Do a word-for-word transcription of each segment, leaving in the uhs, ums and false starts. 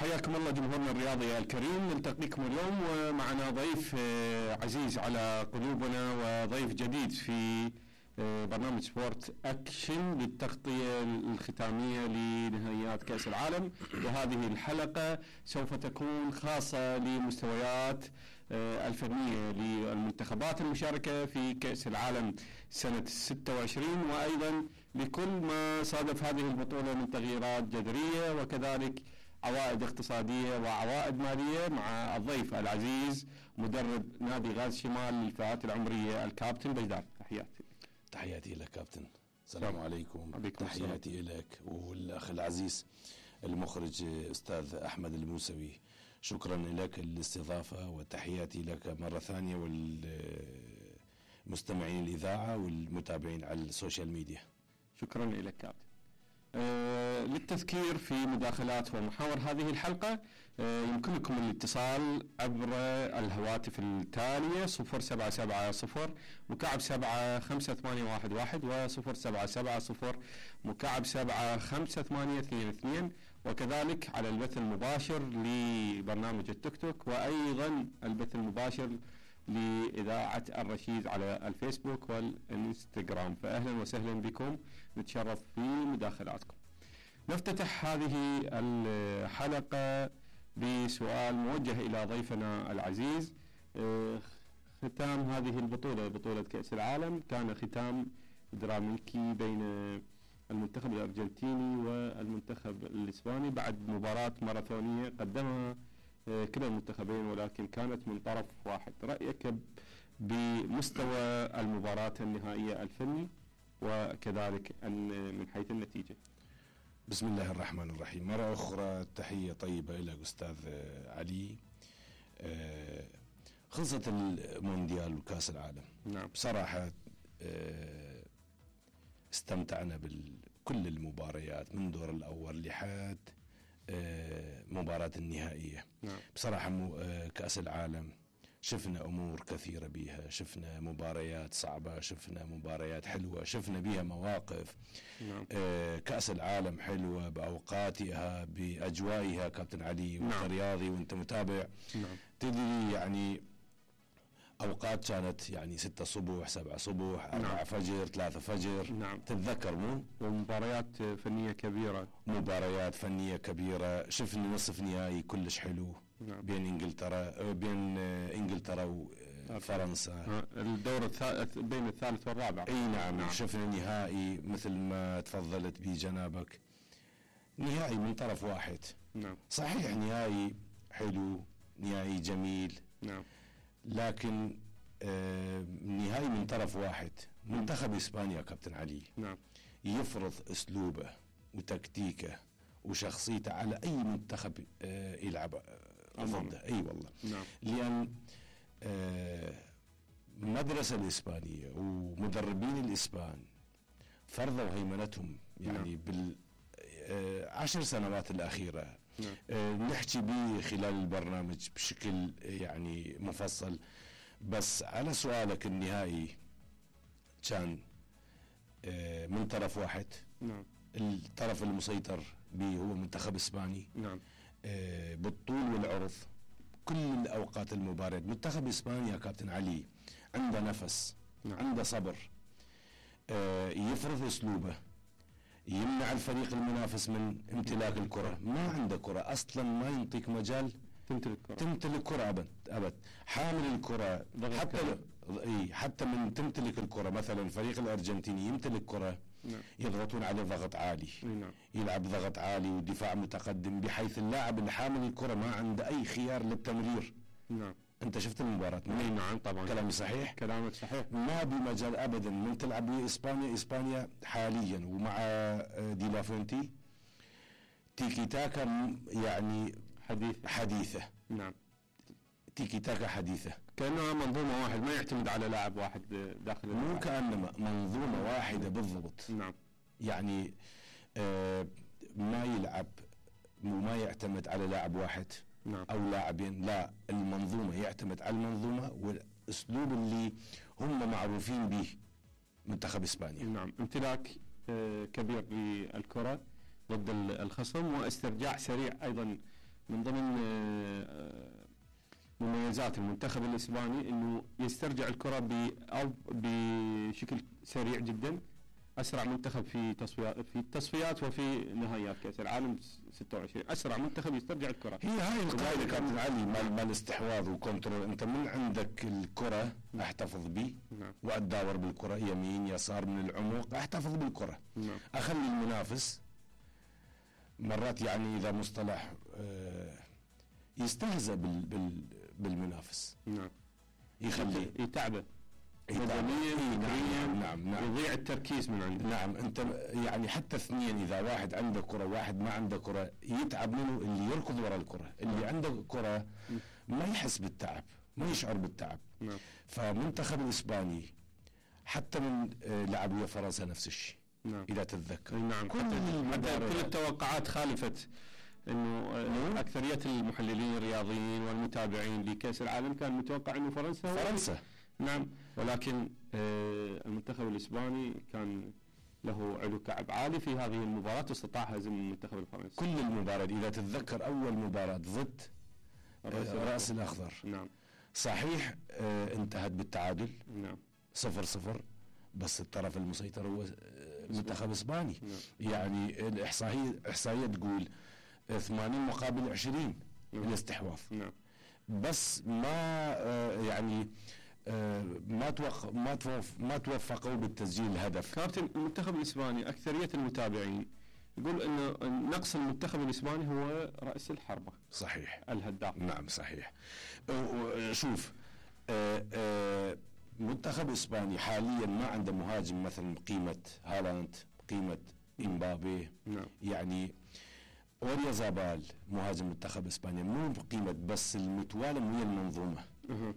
حياكم الله جمهورنا الرياضي الكريم، نلتقيكم اليوم ومعنا ضيف عزيز على قلوبنا وضيف جديد في برنامج سبورت أكشن للتغطية الختامية لنهائيات كأس العالم. وهذه الحلقة سوف تكون خاصة لمستويات الفنية للمنتخبات المشاركة في كأس العالم سنة ستة وعشرين، وأيضا لكل ما صادف هذه البطولة من تغييرات جذرية وكذلك عوائد اقتصادية وعوائد مالية، مع الضيف العزيز مدرب نادي غاز شمال للفئات العمرية الكابتن بجدار. تحياتي. تحياتي لك كابتن. السلام عليكم. تحياتي لك والأخ العزيز المخرج أستاذ أحمد الموسوي، شكرا لك الاستضافة وتحياتي لك مرة ثانية والمستمعين الإذاعة والمتابعين على السوشيال ميديا. شكرا لك كابتن. آه للتذكير في مداخلات ومحاور هذه الحلقة، آه يمكنكم الاتصال عبر الهواتف التالية صفر سبعة سبعة صفر مكعب سبعة خمسة ثمانية واحد واحد وصفر سبعة سبعة صفر مكعب سبعة خمسة ثمانية اثنين اثنين، وكذلك على البث المباشر لبرنامج التيك توك، وأيضا البث المباشر لإذاعة الرشيد على الفيسبوك والإنستغرام. فأهلا وسهلا بكم، نتشرف في مداخلاتكم. نفتتح هذه الحلقة بسؤال موجه إلى ضيفنا العزيز. ختام هذه البطولة، بطولة كأس العالم، كان ختام دراميكي بين المنتخب الأرجنتيني والمنتخب الإسباني بعد مباراة ماراثونية قدمها كلا المنتخبين، ولكن كانت من طرف واحد. رأيك بمستوى المباراة النهائية الفني وكذلك من حيث النتيجة؟ بسم الله الرحمن الرحيم. مرة أخرى تحية طيبة إلى أستاذ علي. خلصت المونديال وكاس العالم. نعم. بصراحة استمتعنا بكل المباريات من دور الأول لحد مباراة النهائية. نعم. بصراحة كأس العالم شفنا أمور كثيرة بيها، شفنا مباريات صعبة، شفنا مباريات حلوة، شفنا بيها مواقف. نعم. كأس العالم حلوة بأوقاتها بأجوائها كابتن علي. نعم. وانت رياضي وانت متابع. نعم. تدري يعني أوقات كانت يعني ستة صبح، سبعة صبح، أربعة نعم. فجر، ثلاثة فجر. نعم. تتذكر مو؟ ومباريات فنية كبيرة. مباريات فنية كبيرة. شفنا نصف نهائي كلش حلو. نعم. بين انجلترا بين انجلترا وفرنسا. الدور الثالث بين الثالث والرابع. اي نعم. نعم. شفنا نهائي مثل ما تفضلت به جنابك، نهائي من طرف واحد. نعم. صحيح نهائي حلو، نهائي جميل. نعم. لكن آه نهائي من طرف واحد. منتخب إسبانيا كابتن علي. نعم. يفرض أسلوبه وتكتيكه وشخصيته على أي منتخب آه يلعب آه ضده. أي والله. نعم. لأن آه المدرسة الإسبانية ومدربين الإسبان فرضوا هيمنتهم يعني. نعم. بال آه عشر سنوات الأخيرة. نعم. آه نحكي به خلال البرنامج بشكل يعني مفصل. بس على سؤالك، النهائي كان آه من طرف واحد. نعم. الطرف المسيطر به هو منتخب إسباني. نعم. آه بالطول والعرض كل الأوقات المباراة. منتخب إسبانيا كابتن علي عنده نفس. نعم. عنده صبر. آه يفرض أسلوبه، يمنع الفريق المنافس من امتلاك الكرة. ما عنده كرة أصلا، ما ينطيك مجال تمتلك كرة. تمتلك كرة أبد أبد. حامل الكرة حتى ل... حتى من تمتلك الكرة. مثلا الفريق الأرجنتيني يمتلك كرة. نعم. يضغطون عليه ضغط عالي. نعم. يلعب ضغط عالي ودفاع متقدم، بحيث اللاعب اللي حامل الكرة ما عنده أي خيار للتمرير. نعم. أنت شفت المباراة؟ نعم طبعا. كلامي صحيح؟ كلامك صحيح. ما بمجال أبدا من تلعب إسبانيا. إسبانيا حاليا ومع دي لافونتي تيكي تاكا يعني حديث حديثة. نعم. تيكي تاكا حديثة، كأنها منظومة واحد، ما يعتمد على لاعب واحد داخل مو الملعب. كأنما منظومة واحدة بالضبط. نعم. يعني آه ما يلعب وما يعتمد على لاعب واحد. نعم. أو لاعبين، لا، المنظومة يعتمد على المنظومة والأسلوب اللي هم معروفين به منتخب إسبانيا. نعم. امتلاك آه كبير للكرة ضد الخصم، واسترجاع سريع أيضا من ضمن مميزات المنتخب الاسباني انه يسترجع الكره ب او بشكل سريع جدا، اسرع منتخب في تصفيات في التصفيات وفي نهائيات كاس العالم ستة وعشرين، اسرع منتخب يسترجع الكره. هي هاي القاعده كابتن علي مال مال استحواذ وكنترول، انت من عندك الكره احتفظ بي نعم. واتداور بالكره يمين يسار من العمق، احتفظ بالكره نعم. اخلي المنافس مرات يعني اذا مصطلح آه يستهزأ بال بال بالمنافس. نعم. يخليه يتعبه بدنيا نعم نعم نعم يضيع التركيز من عنده. نعم انت يعني حتى اثنين اذا واحد عنده كره واحد ما عنده كره يتعب منه اللي يركض وراء الكره، اللي عنده كره ما يحس بالتعب، ما يشعر بالتعب. نعم. فمنتخب الاسباني حتى من لعب ويا فرنسا نفس الشيء. نعم. اذا تتذكر نعم. كل كل التوقعات خالفت، انه اكثريه المحللين الرياضيين والمتابعين لكاس العالم كان متوقع انه فرنسا فرنسا نعم، ولكن آه المنتخب الاسباني كان له علو كعب عالي في هذه المباراه واستطاع هزم المنتخب الفرنسي. كل المباراه اذا تتذكر اول مباراه ضد الراس الاخضر نعم صحيح آه انتهت بالتعادل نعم صفر صفر، بس الطرف المسيطر هو المنتخب الاسباني. نعم. يعني الاحصائيه احصائيه تقول ثمانين مقابل عشرين نعم. الاستحواذ. نعم. بس ما آه يعني آه ما توق ما توف ما توفقوا بالتسجيل الهدف. كابتن المنتخب الاسباني اكثريه المتابعين يقول انه نقص المنتخب الاسباني هو راس الحربه. صحيح. الهداف. نعم صحيح. شوف آه آه منتخب اسباني حاليا ما عنده مهاجم مثلا قيمه هالاند، قيمه امبابي. نعم. يعني اوريا زابال مهاجم منتخب اسبانيا مو بقيمه، بس المتوالم ويا المنظومه. أه.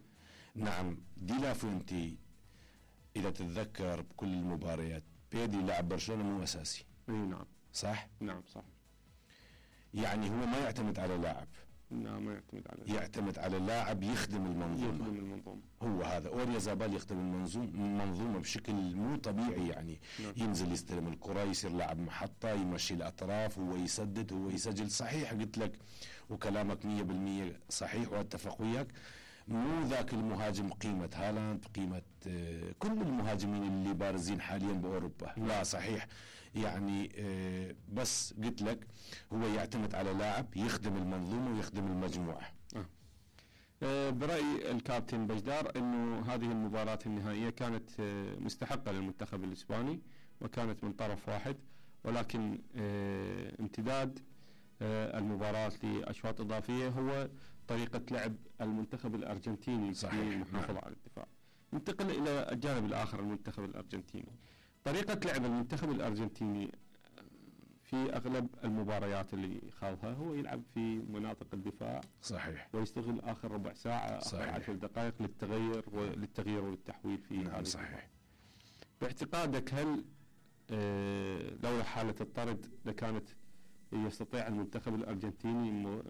نعم. دي لا فوينتي اذا تتذكر بكل المباريات بيدي لاعب برشلونه مو اساسي. اي نعم صح؟ نعم صح. يعني هو ما يعتمد على لاعب، لا ما يعتمد على يعتمد على لاعب يخدم المنظومه. يخدم المنظومه. هو هذا اوريا زابال يخدم المنظومه المنظومه بشكل مو طبيعي. يعني نعم. ينزل يستلم الكره، يصير لاعب محطه، يمشي الاطراف، هو يسدد، هو يسجل. صحيح قلت لك وكلامك مية بالمية صحيح واتفق وياك، مو ذاك المهاجم قيمه هالاند، قيمه آه كل المهاجمين اللي بارزين حاليا باوروبا. نعم. لا صحيح. يعني آه بس قلت لك هو يعتمد على لاعب يخدم المنظومه ويخدم المجموعه. آه. آه برأي الكابتن بجدار انه هذه المباراة النهائية كانت آه مستحقة للمنتخب الاسباني وكانت من طرف واحد، ولكن آه امتداد آه المباراة لاشواط اضافية هو طريقة لعب المنتخب الارجنتيني في المحافظة على الدفاع. ننتقل الى الجانب الاخر المنتخب الارجنتيني. طريقة لعب المنتخب الارجنتيني في اغلب المباريات اللي خاضها هو يلعب في مناطق الدفاع. صحيح. ويستغل اخر ربع ساعه صحيح. اخر عشر دقائق للتغير وللتغيير والتحويل في نعم هذه صحيح. المباراة. باعتقادك هل آه لولا حاله الطرد لكانت يستطيع المنتخب الارجنتيني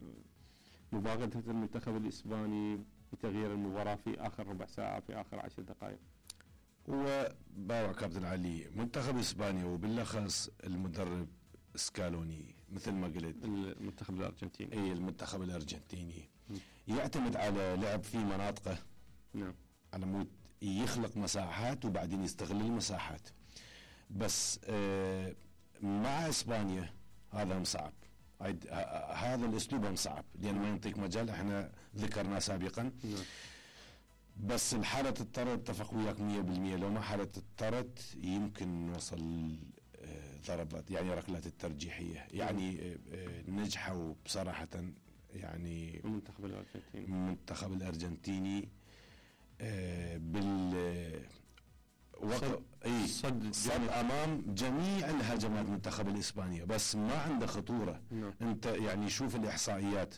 مباغته المنتخب الاسباني بتغيير المباراه في اخر ربع ساعه في اخر عشر دقائق؟ هو باوع كابتن علي منتخب اسبانيا وبالاخص المدرب سكالوني مثل ما قلت المنتخب الارجنتيني. اي المنتخب الارجنتيني م. يعتمد على لعب في مناطقه. نعم. على مود يخلق مساحات وبعدين يستغل المساحات. بس آه مع اسبانيا هذا صعب، هذا الاسلوب صعب لان ما ينطيك مجال، احنا ذكرناه سابقا. نعم. بس الحالة الطرد اتفق وياك مية بالمية، لو ما حالة الطرد يمكن نوصل ضربات يعني ركلات الترجيحية. يعني نجحوا بصراحة يعني المنتخب الارجنتيني المنتخب الارجنتيني بال وقف اي صد, صد امام جميع الهجمات منتخب الاسبانيا، بس ما عنده خطورة. نعم. انت يعني شوف الاحصائيات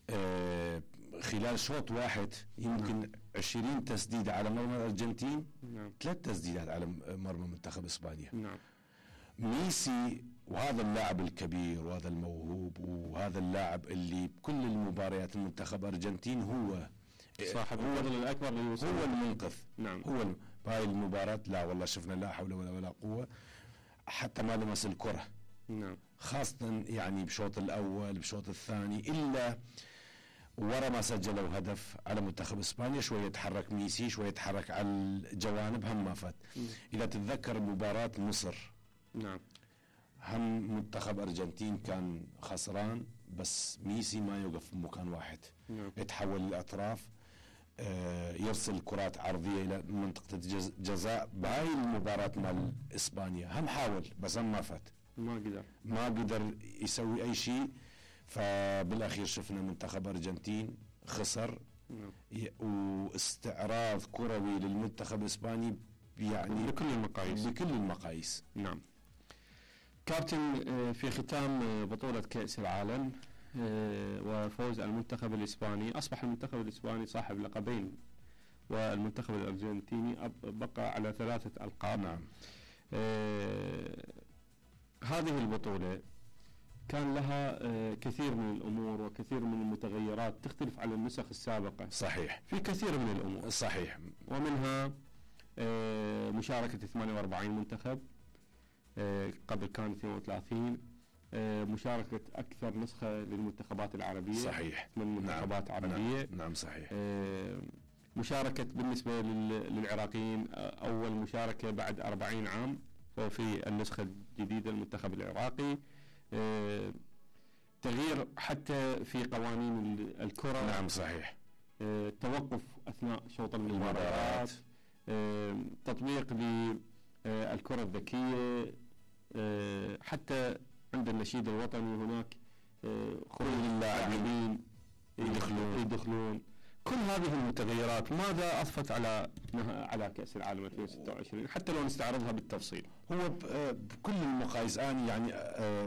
آه خلال شوط واحد يمكن نعم. عشرين تسديدة على مرمى الأرجنتين. نعم. ثلاث تسديدات على مرمى منتخب إسبانيا. نعم. ميسي وهذا اللاعب الكبير وهذا الموهوب وهذا اللاعب اللي بكل المباريات المنتخب الأرجنتين هو صاحب الفضل الأكبر للوصول، هو المنقذ. نعم. هو بهاي المباراة لا والله شفنا لا حول ولا قوة، حتى ما لمس الكرة. نعم. خاصة يعني بشوط الأول بشوط الثاني، إلا ورا ما سجلوا هدف على منتخب إسبانيا شوية تحرك ميسي، شوية تحرك على الجوانب، هم ما فات. إذا تتذكر مباراة مصر، نعم، هم منتخب أرجنتين كان خسران بس ميسي ما يوقف في مكان واحد، نعم. يتحول للأطراف، آه يرسل كرات عرضية إلى منطقة الجزاء. بهاي المباراة مال إسبانيا هم حاول بس هم ما فات، ما قدر ما قدر يسوي أي شيء. فبالأخير شفنا منتخب أرجنتين خسر، نعم. واستعراض كروي للمنتخب الإسباني يعني بكل المقاييس بكل المقاييس. نعم. كابتن، في ختام بطولة كأس العالم وفوز المنتخب الإسباني، أصبح المنتخب الإسباني صاحب لقبين والمنتخب الأرجنتيني بقى على ثلاثة ألقاب. نعم. آه هذه البطولة كان لها آه كثير من الأمور وكثير من المتغيرات تختلف عن النسخ السابقة. صحيح. في كثير من الأمور. صحيح. ومنها آه مشاركة ثمانية وأربعين منتخب، آه قبل كان اثنين وثلاثين، آه مشاركة أكثر نسخة للمنتخبات العربية. صحيح. من منتخبات نعم. عربية. نعم. نعم صحيح. آه مشاركة بالنسبة للعراقيين أول مشاركة بعد أربعين عام في النسخة الجديدة المنتخب العراقي. آه تغيير حتى في قوانين الكرة. نعم صحيح. آه توقف أثناء شوط المباريات. آه تطبيق للكرة الذكية. آه حتى عند النشيد الوطني هناك آه خروج اللاعبين يدخلون يدخلون كل هذه المتغيرات ماذا أضفت على على كأس العالم ألفين وستة وعشرين حتى لو نستعرضها بالتفصيل؟ هو بكل المقاييس أنا يعني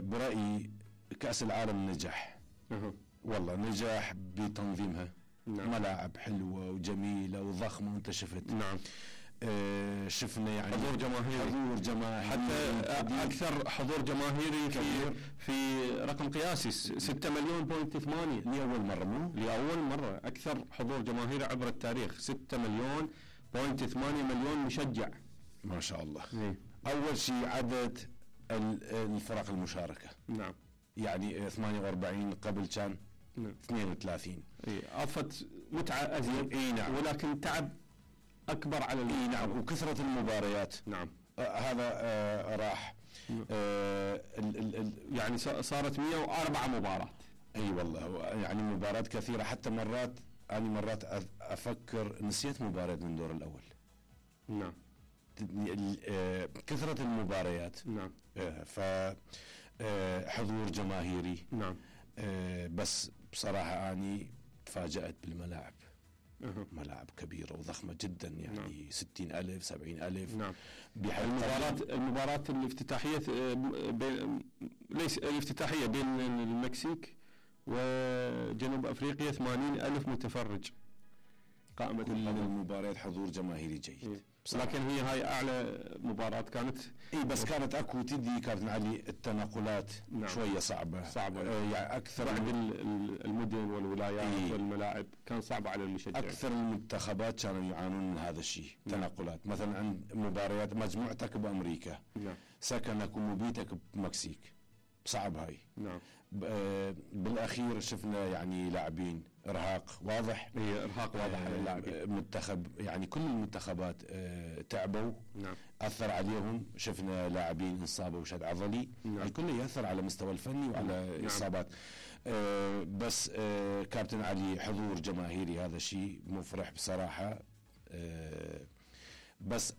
برأيي كأس العالم نجح. أه. والله نجح بتنظيمها. نعم. ملاعب حلوة وجميلة وضخمة وانت شفت. نعم. آه شفنا يعني حضور جماهيري حضور جماهيري حتى أكثر حضور جماهيري في في رقم قياسي ستة مليون بوينت ثمانية لأول مرة مو لأول مرة أكثر حضور جماهيري عبر التاريخ ستة مليون بوينت ثمانية مليون مشجع ما شاء الله. إيه. أول شيء عدد الفرق المشاركة. نعم. يعني ثمانية وأربعين قبل كان نعم. اثنين وثلاثين. إيه. أضفت متعة أزيد. إيه نعم. ولكن تعب أكبر على إيه نعم. وكثرة المباريات. نعم. آه هذا آه راح. آه ال ال ال يعني صارت مئة وأربعة مباراة. اي والله يعني مباريات كثيرة، حتى مرات أنا مرات أفكر نسيت مباراة من الدور الأول. نعم. آه كثرة المباريات. نعم. آه ف آه حضور جماهيري. نعم. آه بس بصراحة أني تفاجأت بالملاعب. أه. ملاعب كبيرة وضخمة جدا يعني. نعم. ستين ألف سبعين ألف. نعم. المباراة المباراة الافتتاحية بين ليس الافتتاحية بين المكسيك وجنوب أفريقيا ثمانين ألف متفرج. قائمة كل المباريات حضور جماهيري جيد. لكن هي هاي أعلى مباراة كانت. اي بس كانت اكو تدي كابتن علي التنقلات. نعم. شوية صعبة صعبة آه يعني أكثر بعد المدن والولايات. إيه. والملاعب كان صعب على المشجع. أكثر المنتخبات كانوا يعانون من هذا الشيء. نعم. تنقلات مثلا عند مباريات مجموعتك بأمريكا. نعم. سكنك ومبيتك بمكسيك صعب هاي. نعم. بالاخير شفنا يعني لاعبين ارهاق واضح. هي ارهاق واضح على اللاعبين. منتخب يعني كل المنتخبات تعبوا. نعم. اثر عليهم، شفنا لاعبين انصابوا شد عضلي. نعم. الكل ياثر على المستوى الفني وعلى نعم. اصابات. آه بس آه كابتن علي حضور جماهيري هذا شيء مفرح بصراحه. آه بس